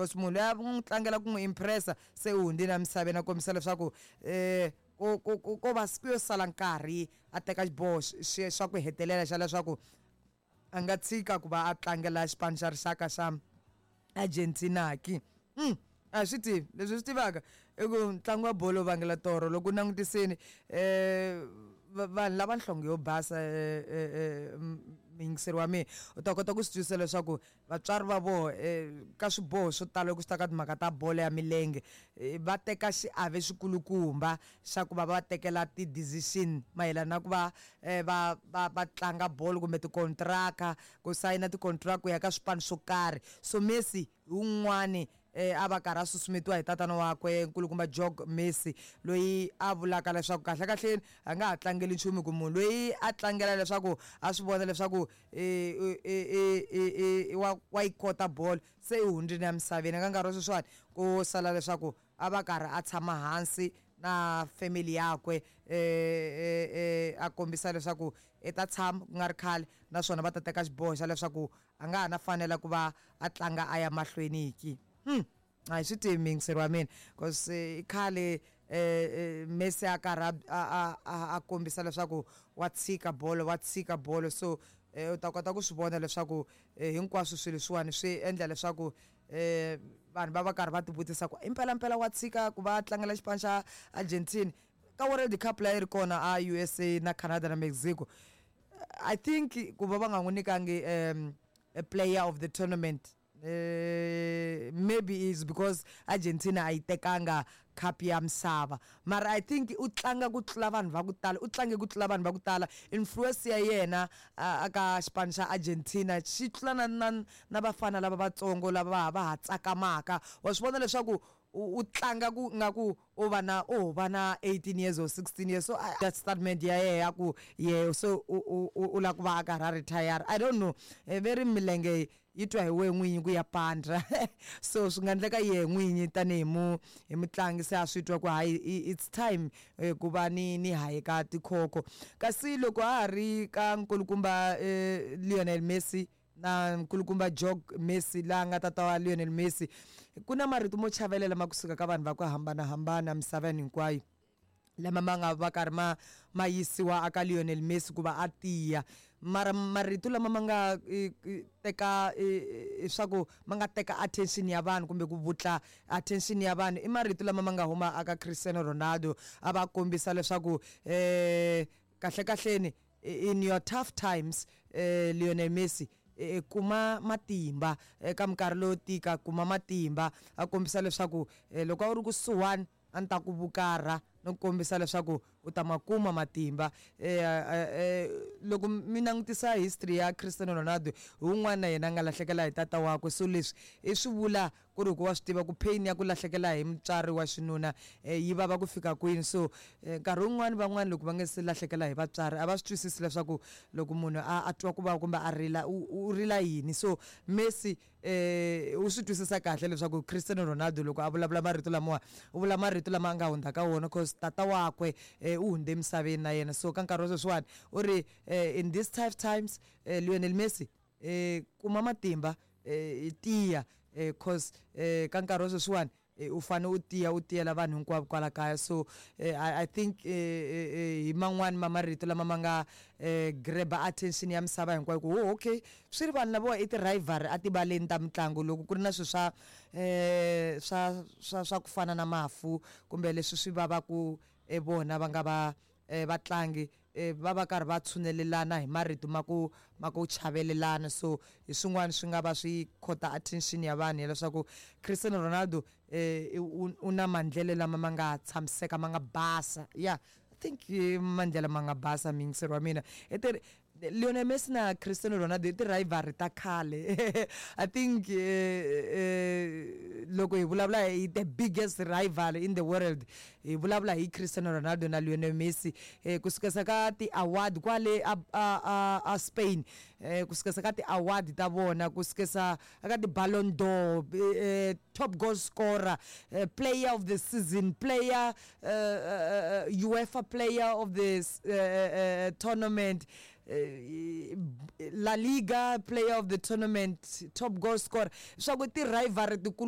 Because munhu loyi a n'wi tlangela ku n'wi impressa se u hundzile emisaveni, a kombisa leswaku ko va ku yo sala nkarhi a teka xiboho xa ku hetelela xa leswaku a nga tshika ku va a tlangela xipano xa rixaka xa Argentina ki. A swi tivi leswi swi tivaka i ku ntlangu wa bolo vangela toro. Loko u langutisini vanhu lava nhlonge yo basa, muyingiseri wa mina, u ta kota ku swi twisisa leswaku vatswari va voho ka swiboho swo tala loko swi ta ka timhaka ta bolo ya milenge va teka xiave xikulukumba xa ku va va tekela ti-decision mayelana na ku va va tlanga bolo kumbe tikontraka, ku sayina tikontraka ku ya ka swipano swo karhi. So Messi hi wun'wani a va karhi a susumetiwa hi tatana wakwe nkulukumba Jorge Messi, loyi a vulaka leswaku kahle kahleni a nga ha tlangeli nchumu, ku munhu loyi a tlangela leswaku a swi vona leswaku wa yi kota bolo se i hundzile emisaveni. Ka nkarhi wa sweswiwani ku sala leswaku a va karhi a tshama hansi na family yakwe, a kombisa leswaku i ta tshama ku nga ri khale, naswona va ta teka xiboho xa leswaku a nga ha na fanela ku va a tlanga a ya mahlweni ki. A hi swi tivi, muyingiseri wa mina, cause i khale Messi a karhi a kombisa leswaku wa tshika bolo, wa tshika bolo. So u ta kota ku swi vona leswaku hinkwaswo swilo leswiwani swi endla leswaku vanhu va va karhi va tivutisa ku impelampela wa tshika ku va tlangela xipano xa Argentina ka World Cup leyi ri kona a USA na Canada na Mexico. I think ku va va nga n'wi nyikangi a player of the tournament, maybe is because Argentina a yi tekanga cup ya misava, mara I think u tlanga ku tlula vanhu va ku tala, u tlange ku tlula vanhu va ku tala. Influence ya yena a ka xipano xa Argentina xi tlula na vafana lava vatsongo lava va ha tsakamaka. Wa swi vona leswaku u tlanga ku nga ku u va na u va na 18 years or 16 years. So that statement ya yehe ya ku ye so u lava ku va a karhi a retire, I don't know, ve ri milenge yi twa hi wehe n'winyi ku ya pandza. So swi nga endleka yehe n'winyi tanihi mu hi mutlangi se a swi twa ku hayi, it's time ku va ni hayeka tikhokho. Kasi loko ha ha ri ka nkulukumba Lionel Messi na nkulukumba Jorge Messi la nga tata wa Lionel Messi, ku na marito mo chavelela ma kusuka ka vanhu va ku hambanahambana misaveni hinkwayo lama ma nga va karhi ma yisiwa aka Lionel Messi ku va a tiya. Mara marito lama ma nga teka swa ku ma nga teka attention ya vanhu kumbe ku vutla attention ya vanhu i marito lama ma nga huma aka Cristiano Ronaldo, a va kombisa leswaku kahle kahleni in your tough times, Lionel Messi, kuma matimba eka minkarhi loyo tika, kuma matimba. A kombisa leswaku loko a wu ri kusuhani a ni ta ku vukarha no kombisa leswaku u ta ma kuma matimba. Loko mi langutisa history ya Cristiano Ronaldo, hi wun'wana na yena a nga lahlekela hi tata wakwe. So leswi i swi vula ku ri hikuva swi tiva ku pain ya ku lahlekela hi mutswari wa xinuna yi vava ku fika kwini. So nkarhi wun'wani van'wani loko va nga se lahlekela hi vatswari a va swi twisisi leswaku loko munhu a twa ku vava kumbe a rila u rila yini. So Messi u swi twisisa kahle leswaku Cristiano Ronaldo loko a vulavula marito lamawa u vula marito lama a nga hundza ka wona, cause tata wakwe u hundze emisaveni na yena. So ka nkarhi wa sweswiwani u ri in these tough times, Lionel Messi, kuma matimba, tiya, cause ka nkarhi wa sweswiwani u fane u tiya, u tiyela vanhu hinkwavo kwala kaya. So I think hi man'wani ma marito lama ma nga grab attention ya misava hinkwayo ku oh, okay, swi ri vanhu lavawa i ti-rivalry a tivaleni ta mitlangu. Loko ku ri na swilo swa ku fana na mafu kumbe leswi swi vavaku vona va nga va vatlangi, va va karhi va tshunelelana hi marito ma ku chavelelana. So hi swin'wana swi nga va swi khota attention ya vanhu ya leswaku Cristiano Ronaldo u na mandlele lama ma nga tshamiseka, ma nga basa. Yeah, I think mandlela ma nga basa, muyingiseri wa mina. I ti Lionel Messi na Cristiano Ronaldo i ti-rivalry ta khale. I think loko hi vulavula hi the biggest rival in the world, hi vulavula hi Cristiano Ronaldo na Lionel Messi, kusukesa ka ti-award kwale a Spain, kusukesa ka ti-award ta vona, kusukesa aka ti-Ballon d'Or, top goal scorer, player of the season, player UEFA player of the tournament, La Liga player of the tournament, top goal scorer, swa ku ti-rivalry tikulu.